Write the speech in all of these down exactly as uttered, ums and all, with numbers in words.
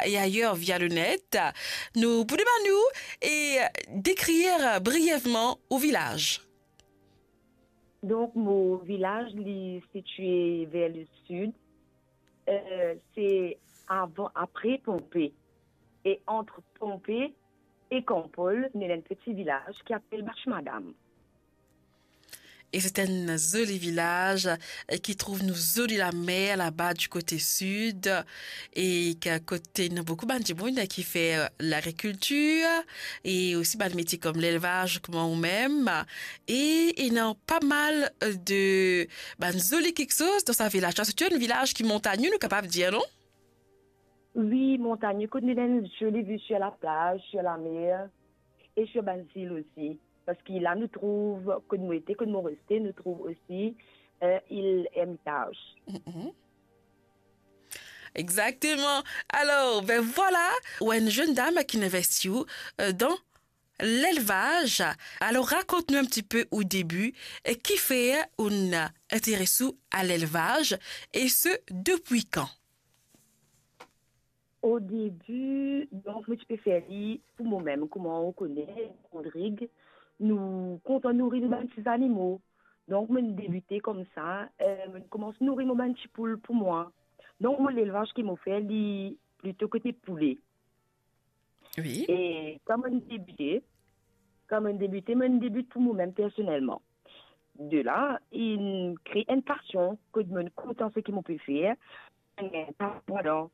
et ailleurs via le net. Nou pou demann ou e dekrir brièvement ou vilaz. Donk, mo vilaz, li sitie ver le sid. Euh, se avan, apre Ponpe. E ant Ponpe e Kanpol, nou ena enn peti vilaz ki apel Bach Madam. E se enn zoli vilaz, eh, ki trouv nou zoli lamer laba di kote sid, e ki kote ena boukou bann dimoun ki fer lagrikiltir, e osi bann metie kom lelvaz, kouma ou mem. E ena pa mal, eh, de bann zoli kiksoz dan sa vilaz la. Se enn vilaz ki montagne, nou kapav dir, non? Wi, montagne, kot nou ena enn zoli vi sur la plaz, sur lamer, e sur bann zil osi. Parski la nou trouv, kot mo ete, kot mo reste, nou trouv osi, euh, il Hermitage. Mhm. Exactement. Alors, ben voilà, ou enn zenn dam ki inn investi ou, euh, dan lelvaz. Alors, rakont nou enn tipe ou debi, e kifer ou inn interes ou a lelvaz, e se depi kan? O debi, donk, mo ti pe fer li pou momem, kouma ou kone, Rodrig, nou kontan nouri nou bann ti zanimo. Donk, mo debite koumsa, euh, mo koumans nouri mo bann ti poul pou mwa. Donk, mo lelvaz ki mo fer, li plito kote poule. Wi. E kan mo debite, kan mo debite, mo debit pou momem personelman. De la, inn kre enn pasion, kot mo kontan seki mo pe fer, enn pasion ladan.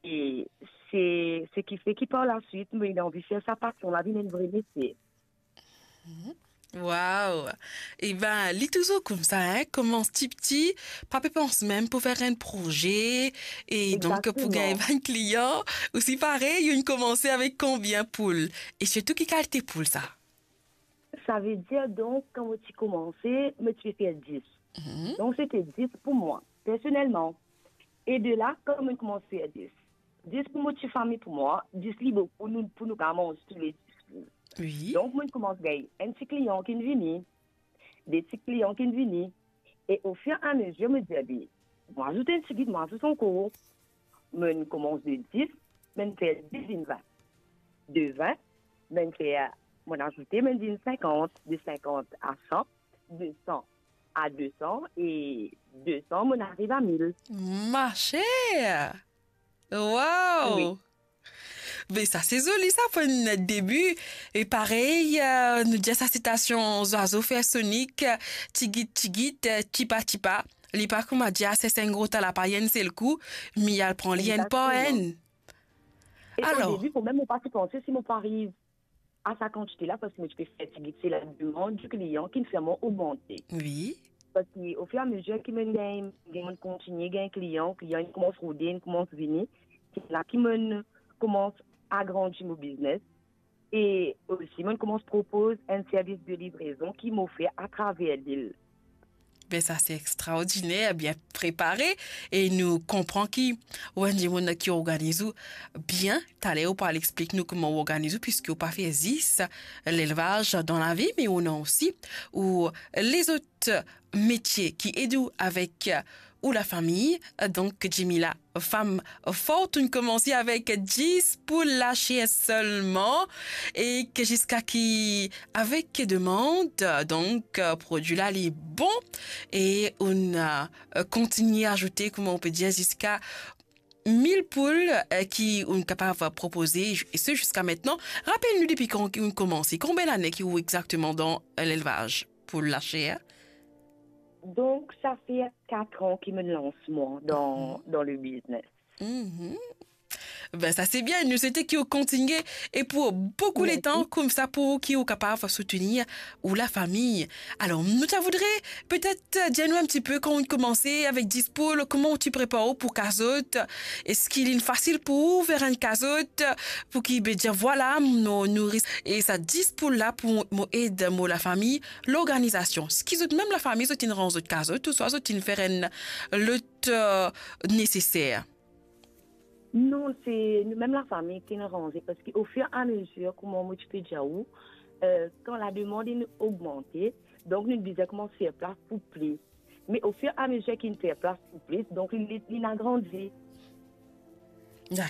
E se, seki fer ki par laswit, mo inn anvi fer sa pasion la vinn enn vre metie. Mhm. Wow! Eben, li touzour koumsa, hein, koumans tipti, pa pe pans mem pou fer enn proze, e donk pou Exactement. Gagn bann klian, osi parey, ou inn koumanse avek konbien poul? E sirtou ki kalite poul sa? Savedir, donk, kan mo ti koumanse, mo ti pe fer dis. Mhm. Donk, sete dis pou mwa, personelman. E de la, kan mo koumans fer dis, dis pou mo ti fami pou mwa, dis li boukou, nou, pou nou kapav manz toule dis. Wi. Donk, mo koumans gagn enn ti klian ki vini, de ti klian ki vini, e ofir a mezir, mo dir, "Be, mo azout enn tigit, mo azout ankor." Mo koumans de dis, mo fer dis vinn vin. De vin, mo fer, mo azoute, mo vinn sinkant, de sinkant a san, de san a de san, e de san, mo ariv a mil. Ma chère! Wow! Wi. Be sa se zoli sa pou enn debi. E parey, euh, nou dir sa sitasion zwazo fer sonik, tigit tigit, tipa tipa. Li pa kouma dir a sers enn gro tala pa enn sel kou, me al pran li enn par enn. Exactement. E o debi, momem, mo pa ti panse si mo pou ariv a sa kantite la, parski mo ti pe fer tigit, se lademann di klian ki fer mwa ogmante. Wi. Parski ofir a mezir ki mo gagn, gagn, mo kontigne gagn klian, klian inn koumans rode, inn koumans vini, se la ki mo koumans agrandi mo biznes. E osi, mo koumans propoz enn servis de livrezon ki mo fer atraver lil. Be sa se extraordiner, bien prepare, e nou konpran ki ou enn dimoun ki organiz ou bien. Taler ou pou al explik nou kouma ou organiz ou, piski ou pa fer zis lelvaz dan lavi, me ou ena osi ou lezot metie ki ed ou avek ou lafami. Donk, Djemila, fam for, ou'nn koumanse avek dis poul laser selman, e ki ziska ki avek demann, donk, prodwi la li bon, e ou'nn, euh, kontigne azoute, kouma ou pe dir, ziska mil poul, euh, ki ou'nn kapav propoze, e se ziska aster. Rapel nou depi kan ki ou'nn koumanse, konbien lane ki ou exakteman dan, euh, lelvaz poul laser? Donk, sa fer kat an ki mo lans mwa dan, dan le biznes. Mhm. Be sa se bien, nou swete ki ou kontigne e pou boukou letan, koumsa pou ki ou kapav soutenir ou lafami. Alor, nou ta voudre petet, euh, dir nou enn tipe, kan ou koumanse avek dis poul, kouma ou ti prepar ou pou kazot? Eski li fasil pou ou fer enn kazot, pou ki, be dir, vwala, mo nouri e sa dis poul la pou mo ed mo lafami, lorganizasion? Eski zot mem lafami, zot inn ranz zot kazot, ouswa zot inn fer enn lot, euh, neseser? Non, se nou mem lafami ki inn ranze, parski ofir a mezir, kouma mo ti pe dir ou, euh, kan lademann inn ogmante, donk nou bizin koumans fer plas pou plis. Me ofir a mezir ki inn fer plas pou plis, donk li, li, li inn agrandi. Dakor.